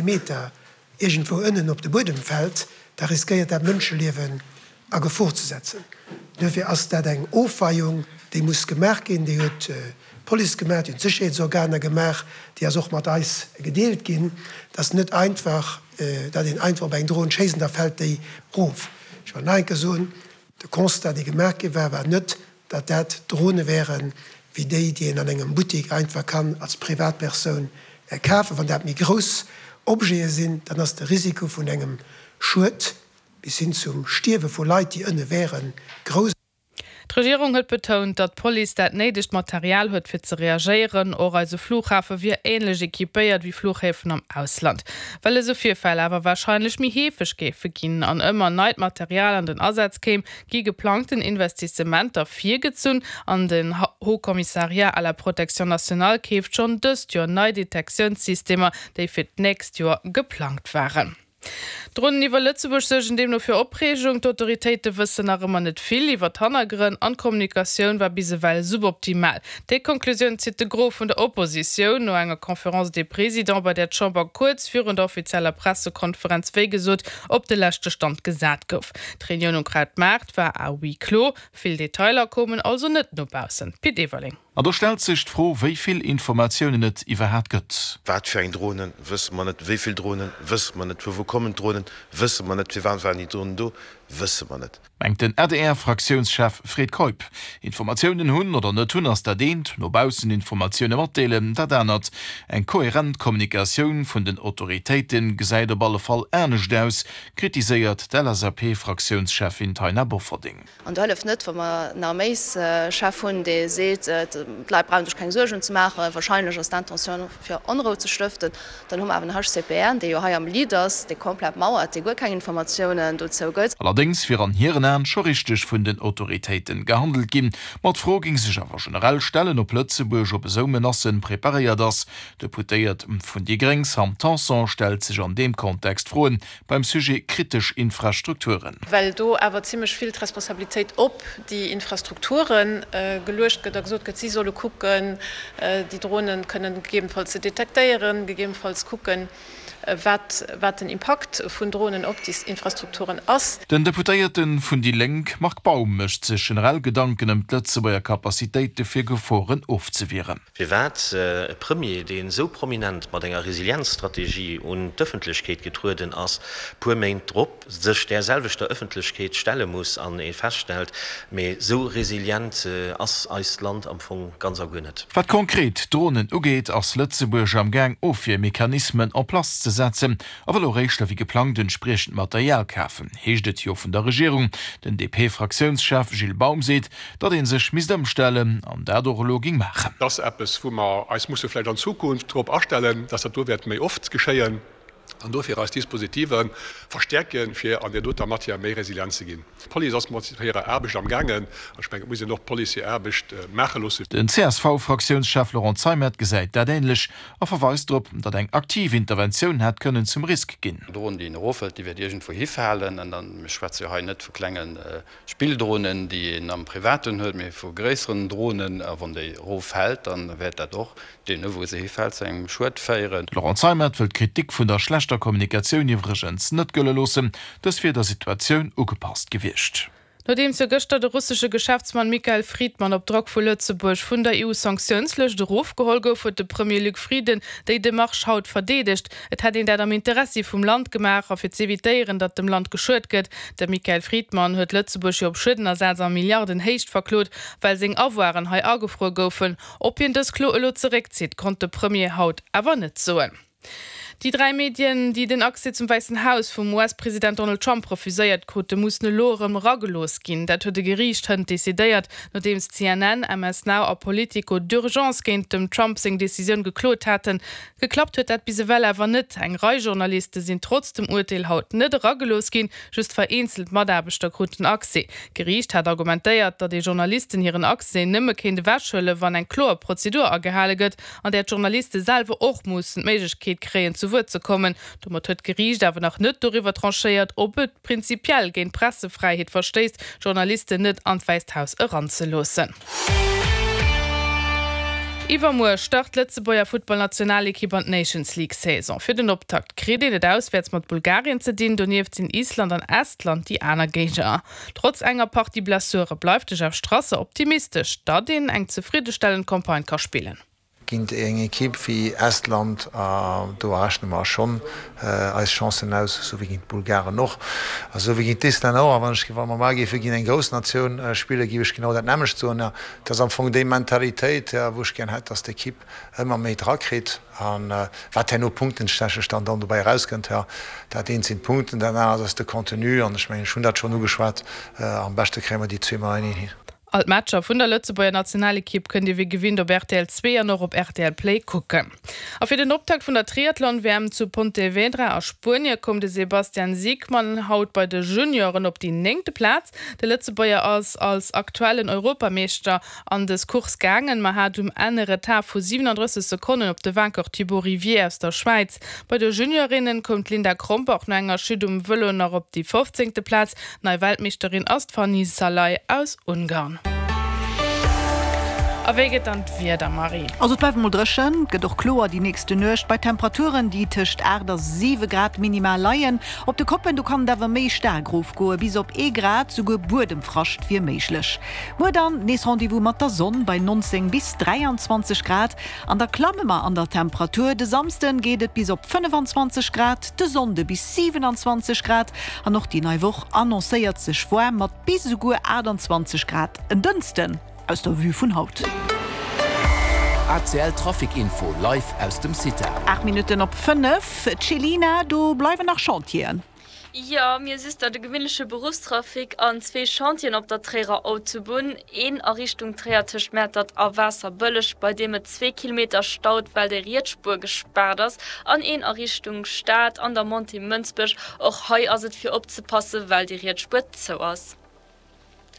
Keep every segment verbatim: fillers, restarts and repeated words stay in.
Meter iergendwou ënnen op de Buedem fält, da riskéiert dat Mënscheliewen a Gefor ze setzen. Duerfir ass dat eng Ofweiung, déi muss gemaach ginn. Déi huet d'Police gemaach, déi hunn d'Sécherheetsorganer gemaach, déi ass och mat eis gedeelt ginn. Et ass net einfach, datt een einfach op eng Dron schéisst an da fält déi erof. Ech wëll nach eng Kéier soen, De Constat, dee gemaach gi war, war net, datt dat Drone wären, wéi déi, déi een an engem Buttek einfach kann als Privatpersoun kafen. Wann dat méi grouss Objete sinn, dann ass de Risiko vun engem Schued bis hin zum Stierwe vu Leit, déi ënne wären, grouss. D'Regierung huet betount, datt d'Police dat néidegt Material huet fir ze reagéieren. Och eise Flughafe wier änlech equipéiert wéi Fluchhäfen am Ausland. Well esou Virfäll awer warscheinlech méi heefeg géife ginn an ëmmer neit Material an den Asaz kéim, gi geplangten Investissementer virgezunn an den Haut Commissariat à la protection nationale keeft schonn dëst Joer nei Detektiounssystemer, déi fir d'nächst Joer geplangt waren. D'Dronen iwwer Lëtzebuerg suergen deemno fir Opreegung. D'autoritéite wëssen nach ëmmer net vill iwwer d'Hannergrënn an d'Kommunikatioun war bis ewell suboptimal. Déi Konklusioun zitt de Gros vun der Oppositioun no enger Conférence des Présidents, bei där d'Chamber kuerz virun der offizieller Pressekonferenz wéi gesot op de leschte Stand gesat gouf. D'Reunioun um Krautmaart war à huis clos, vill Detailer koumen also net no baussen. Pit Everling. An do stellt sech d'Fro, wéi vill Informatiounen et iwwerhaat gëtt. Wat fir eng Dronen, wësse mer net. Wéi vill Dronen, wësse mer net. Vu wou kommen d'Dronen, wësse mer net. Firwat waren déi Dronen do, wësse mer net. Mengt den A D R-Fraktiounschef Fred Keup. Informatiounen hunn oder net hunn ass dat eent, no baussen Informatioune matdeelen dat anert. Eng koherent Kommunikatioun vun den Autoritéite gesäit op alle Fall anescht aus, kritiséiert d'L S A P-Fraktiounscheffin Taina Bofferding. An do hëlleft net, wa mer en Arméischef hunn, dee seet, d'Leit brauche sech keng Suergen ze maachen, wahrscheinlech ass d'Intentioun fir Onrou ze stëften. Dann hu mer awer den H C P R, dee jo hei am Lead ass, dee komplett mauert, dee guer keng Informatiounen dozou gëtt. Allerdéngs wier an hiren Aen scho richteg vun den Autoritéiten gehandelt ginn. Ma d'Fro géing sech awer generell stellen, ob Lëtzebuerg op esou Menacen preparéiert ass. D'Deputéiert vun déi Gréng Sam Tanson stellt sech an deem Kontext Froen beim Sujet kritesch Infrastrukturen. Well do awer zimlech vill d'Responsabilitéit op déi Infrastrukture geluecht gëtt a gesot gëtt, si solle kucken, déi Dronen kënnen gegebenfalls ze detektéieren, gegebenfalls kucken, wat wat den Impakt vun Dronen op déi Infrastrukturen ass. Den Deputéierte vun déi Lénk Marc Baum mécht sech generell Gedanken ëm d'Lëtzebuerger Capacitéite fir Geforen ofzewieren. Firwat e Premier, deen esou prominent mat enger Resilienzstrategie un d'Ëffentlechkeet getrueden ass, puer Méint drop sech där selwechter Ëffentlechkeet stelle muss an ee feststellt, mee esou resilient ass eist Land am Fong ganz a guer net. Wat konkret Dronen ugeet, ass Lëtzebuerg am Gaang Ofwiermechanismen en place ze setzen a wëll och éischter wéi geplangt entspriechend Material kafen, heescht et jo vun der Regierung. Den D P-Fraktiounschef Gilles Baum seet, datt ee sech misst ëmstellen an dat och elo géing maachen. Dat ass eppes, wou mer eis musse vläicht an Zukunft drop astellen, dass dat do wäert méi oft geschéien, an dofir eis Dispositive verstäerken, fir an där doter Matière méi resilient ze ginn. D'Police ass mat hirer Aarbecht amgaangen, an ech mengen, et muss een och d'Police hir Aarbecht maache loosse. Den C S V-Fraktiounschef Laurent Zeimet gesäit dat änlech a verweist drop, datt eng aktiv Interventioun hätt kënnen zum Risk ginn. Dron, déi eroffält, déi wäert iergendwou hifalen. An dann, mir schwätze jo hei net vu klenge Spilldronen, déi een am Privaten huet, mee vu gréisseren Dronen. A wann déi eroffält, dann wäert dat och deemno wou se hifält, zu engem Schued féieren. De Laurent Zeimet wëll d'Kritik vun der schlechter Kommunikatioun iwwregens net gëlle loossen, dës wier der Situatioun ugepasst gewiescht. Nodeems jo gëschter de russesche Geschäftsmann Mikhail Fridman op Drock vu Lëtzebuerg vun der E U-Sanktiounslëscht erofgeholl gouf, huet de Premier Luc Frieden déi Demarche haut verdeedegt. Et hätt een dat am Interessi vum Land gemaach a fir z'evitéieren, datt dem Land geschuet gëtt. De Mikhail Fridman huet Lëtzebuerg jo op Schuedenersaz a Milliardenhéicht verklot, well seng Avoiren hei agefruer goufen. Ob hien dës Klo elo zeréckzitt, konnt de Premier haut awer net soen. Déi dräi Medien, déi den Accès zum Wäissen Haus vum U S-President Donald Trump refuséiert krute, mussen elo erëm eragelooss ginn. Dat huet e Geriicht hënt decidéiert, nodeems C N N, M S Now a Politico d'urgence géint dem Trump seng Decisioun geklot haten. Geklappt huet dat bis ewell awer net. Eng Rei Journaliste sinn trotz dem Urteel haut net eragelooss ginn, just vereenzelt Mataarbechter kruten Accès. D'Geriicht hat argumentéiert, datt ee Journalisten hiren Accès nëmme kéint ewechhuelen, wann eng kloer Prozedur agehale gëtt, an där d'Journaliste selwer och mussen d'Méiglechkeet kréien, zu Wuert ze kommen. Domat huet d'Geriicht awer nach net doriwwer tranchéiert, ob et prinzipiell géint d'Pressefräiheet verstéisst, Journalisten net an d'Wäisst Haus eranzeloossen. Iwwermuer start d'Lëtzebuerger Futtballnationalekipp an d'Nations League Saison. Fir den Optakt kritt een et auswäerts mat Bulgarien ze dinn, donieft sinn Island an Estland déi aner Géigner. Trotz enger Partie Blessure bleift de Jeff Strasser optimistesch, datt een eng zefriddestellend Campagne ka spillen. Géint eng Ekipp wéi Estland, do rechne mer schonn eis Chancen aus, esou wéi géint d'Bulgaren och, a sou wéi géint d'Islänner och. A wann ech, wa mer mar géife géint eng grouss Natioun spillen, géif ech genau dat nämmlecht soen. Et ass am Fong déi Mentalitéit, wou ech gär hätt, datt d'Ekipp ëmmer méi drakritt. A wat herno punktenstechnesch dann dann dobäi erauskënnt, dat eent sinn d'Punkten, dat anert ass de Contenu. An ech mengen, ech hunn dat schonn ugeschwat, am beschte kréie mer déi zwee mateneen hin. All d'Matcher vun der Lëtzebuerger Nationalekipp kënnt Dir wéi gewinnt op rtl zwee an och op rtl Play kucken. A fir den Optakt vun der Triathlon-WM zu Pontevedra a Spuenie koum de Sebastian Siegmann haut bei de Junioren op déi néngte Plaz. De Lëtzebuerger ass als aktuellen Europameeschter an dës Course gaangen, ma hat um Enn e Retard vu siwenandrësseg Sekonnen op de Vainqueur Thibaut Rivier aus der Schwäiz. Bei de Juniorinnen koum d'Linda Krombach no enger Chute um Vëlo nach op déi fofzéngte Plaz. Nei Weltmeeschterin ass d'Fanny Szalai aus Ungarn. A wéi gëtt dann d'Wieder, Marie? Also et bleift emol dréchen, et gëtt och kloer déi nächste Nuecht bei Temperaturen, déi tëscht aacht a siwe Grad minimal leien. Op de Koppen, do kann et awer méi staark erofgoe bis op ee Grad, souguer Buedemfrascht wier méiglech. Muer dann nees Rendez-vous mat der Sonn bei neunzéng bis dräianzwanzeg Grad an da klamme mer an der Temperatur. De Samsden geet et bis op fënnefanzwanzeg Grad, de Sonnde bis siwenanzwanzeg Grad an och déi nei Woch annoncéiert sech waarm mat bis esouguer aachtanzwanzeg Grad en Dënschden. Aus der Vue vun haut. A C L Trafic Info live aus dem CITA. Aacht Minutten op fënnef, Céline, do bleiwen nach Chantieren. Jo, mir si der de gewinnleche Beruffstrafic an zwee Chantieren op der Tréierer Autobunn, een a Richtung Tréier tëscht Mäertert a Waasserbëlleg, bei deem et zwee Kilometer staut, well déi riets Spuer gespaart ass, an een a Richtung Stad an der Montée Mënsbech. Och hei ass et fir opzepassen, well déi riets Spuer zou ass.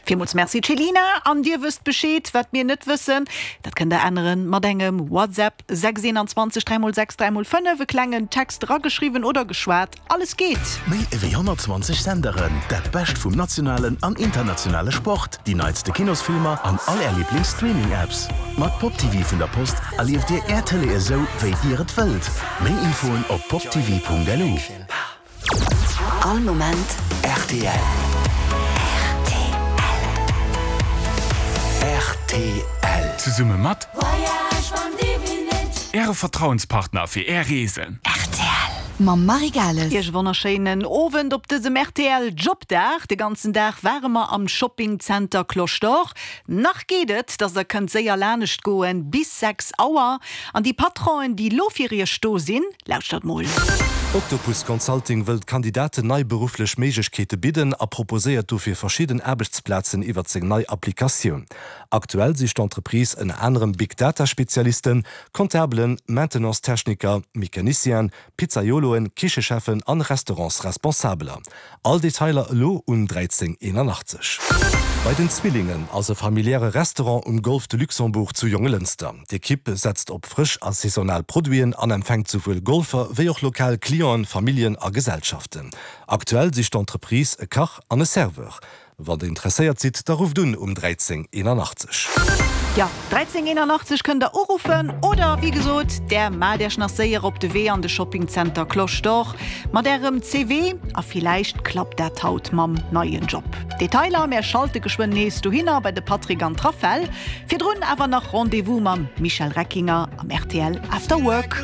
Villmools Merci Céline, an dir wësst Bescheed, wat mir net wëssen, dat kënnt der änneren mat engem WhatsApp, sechs eenanzwanzeg dräi mol sechs dräi mol fënnef, e klengen Text erageschriwwen oder geschwat, alles geet. Méi ewéi honnertzwanzeg Senderen, dat Bescht vum nationalen an internationale Sport, déi neitste Kinosfilmer an all är Liiblings-Streaming-Apps. Mat PopTv vun der Post erlieft dir är Tëlee esou, wéi dir et wëllt. Méi Infoen op poptv.lu. All Moment rtl. Rtl. Zesumme mat Äre Vertrauenspartner fir Är Reesen. Rtl mam Marie Gales. Iech e wonnerschéinen Owend op dësem rtl Jobdag. De ganzen Dag ware mer am Shopping Center Cloche d'Or. Nach geet et, dass der kënnt séier lanescht goen, bis sechs Auer. An déi Patronen, déi lo fir iech do sinn, lauschtert mol. Octopus Consulting wëllt Kandidaten nei berufflech Méiglechkeete bidden a proposéiert dofir verschidden Aarbechtsplazen iwwert seng nei Applikatioun. Aktuell sicht d'Entreprise ënner anerem Big Data Spezialisten, Comptabelen, Maintenance-Techniker, Mecanicienen, Pizzaioloen, Kichecheffen an Restaurantsresponsabeler. All Detailer elo un dräizéng eenanachtzeg. Bei den Zwillingen ass e familiäre Restaurant um Golf de Luxembourg zu Jongelënster. D'Ekipp setzt op frësch a saisonal Produiten an empfänkt souwuel Golfer wéi och lokal Clienten, Familljen a Gesellschaften. Aktuell sicht d'Entreprise e Kach an e Serveur. Wann der interesséiert sidd, da rufft un um dräizéng eenanachtzeg. Jo, dräizéng eenanachtzeg kënnt der uruffen oder wéi gesot, där maacht iech nach séier op de Wee an de Shopping Center Cloche d'Or mat ärem C V a villäicht klappt dat haut mam neien Job. Detailer, mär schalte geschwënn nees dohinner bei de Patrick an d'Rafel. Virdrun awer nach Rendez-vous mam Michel Reckinger am rtl After Work.